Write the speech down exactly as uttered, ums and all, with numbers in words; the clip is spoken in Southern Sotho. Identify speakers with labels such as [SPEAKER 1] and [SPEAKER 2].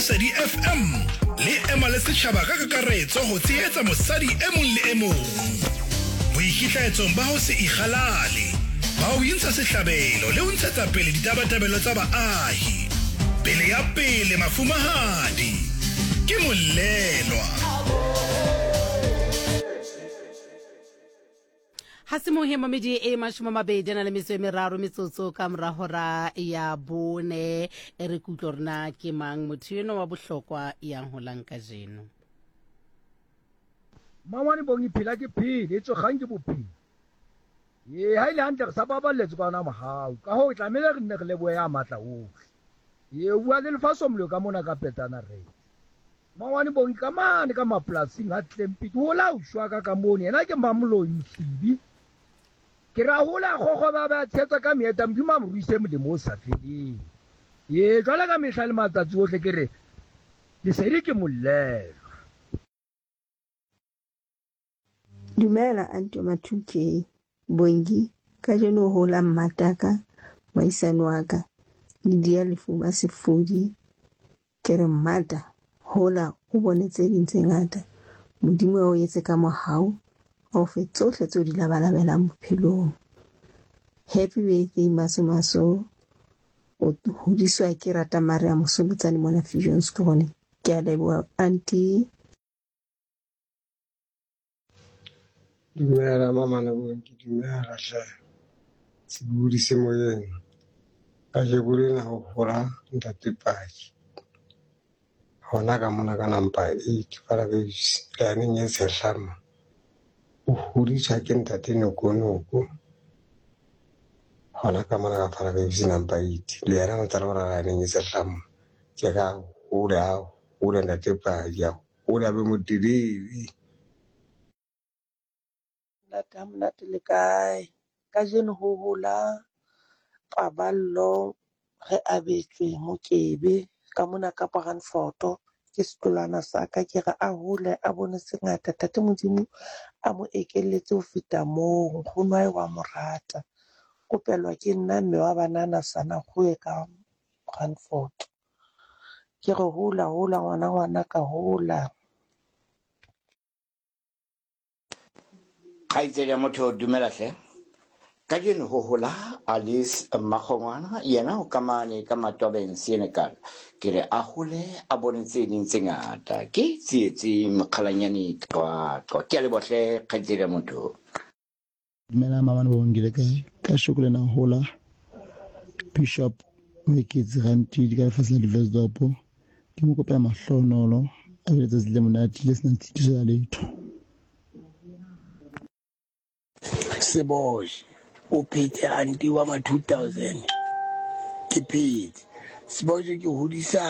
[SPEAKER 1] Lesedi F M le ema le setjhaba ka kakaretso ho tshehetsa mosadi e mong le e mong. Boikitlaetsong ba ho se ikgalale, ba ho intsha sehlabelo le ho ntshetsa pele ditabatabelo tsa baahi. Pele ya pele mafumahadi ke mollelwa.
[SPEAKER 2] Ha se mohe mamedi e mashome a mabedi a na le metso e meraro metsotso ka mora hora ya bone. E re ke utlwe hore na ke mang motho enwa wa bohlokwa yang holang kajeno.
[SPEAKER 3] Mangwane bong phela ke phele, e tswe kgang ke bophelo. Ee, ha ile hantle re sa baballetse ka ona mohau. Ka hoo tlamehile re nne re lebohe ya matla ohle. Ee, o bua le lefaso mollo ka mona ka Petana re. Mangwane bong ka mane ka mapolasing ha Tlempiti ho la ushwa ka ka mone yena ke Mamoloi Msibi. Ke ra hola kgokgo ba ba tshetsa ka meeta Modimo a mo ruise molemo o sa feleng. Ee, jwale ka mehla le matsatsi ohle ke re lesedi ke mollelwa.
[SPEAKER 4] Dumela Aunty Ma two K Bongi, kajeno ho la mmataka moahisani wa ka Lydia Lefuma Sefodi. Ke re mmata hola o bone tse ding tse ngata, Modimo a o etse ka mohau, a o fe tsohle tseo di labalabelang bophelong. Happy birthday Maso Maso, o hodiswa ke rata Maria Mosoletsane mona Viljoenskroon. Ke a leboha aunty.
[SPEAKER 5] Dumela mama Lebonke, dumela hle. Sebodi se moyeng. Kajeko lena ho hola ntate Paki. Hona ka mona ka number eight Farabase leaneng e tshehlama. O hodiswa ke ntate Nokonoko. Hona ka mona ka Farabase number eight. Le yena o ntse a le mona leaneng e tshehlama. Ke ka hole a hole ntate Paki, a hole a be motelele.
[SPEAKER 6] Monate ha monate le kae? Kajeno ho hola Paballo re abetswe Mokebe ka mona ka Brandfort. Ke setolwana sa ka, ke re a hole a bone se ngata. Tate Modimo a mo ekelletse ho feta moo. Nkgono hae wa mo rata. Kopelwa ke nna mme wa banana sana kgoe ka Brandfort. Ke re hola hola ngwana ngwana ka hola.
[SPEAKER 7] Kgaitsedi ya motho dumela hle. Kajeno ho hola Alice Makgongwana, yena o kamane ka Matwabeng Senekal. Ke re a hole a bone tse ding tse ngata. Ke Tsietsi Mokgalanyane Qwaqwa. Ke a leboha hle kgaitsedi ya motho.
[SPEAKER 8] Dumela mama Bongi le kae? Ka shoko lena hola Bishop Moeketsi Rantidi ka lefatshe la Diversdorp. Ke mo kopela mahlonolo a be letsatsi le monate le senang tshitiso ya letho.
[SPEAKER 9] Sebosh o phetse aunty wa ma two thousand. Ke phetse. Sebosh ke hodisa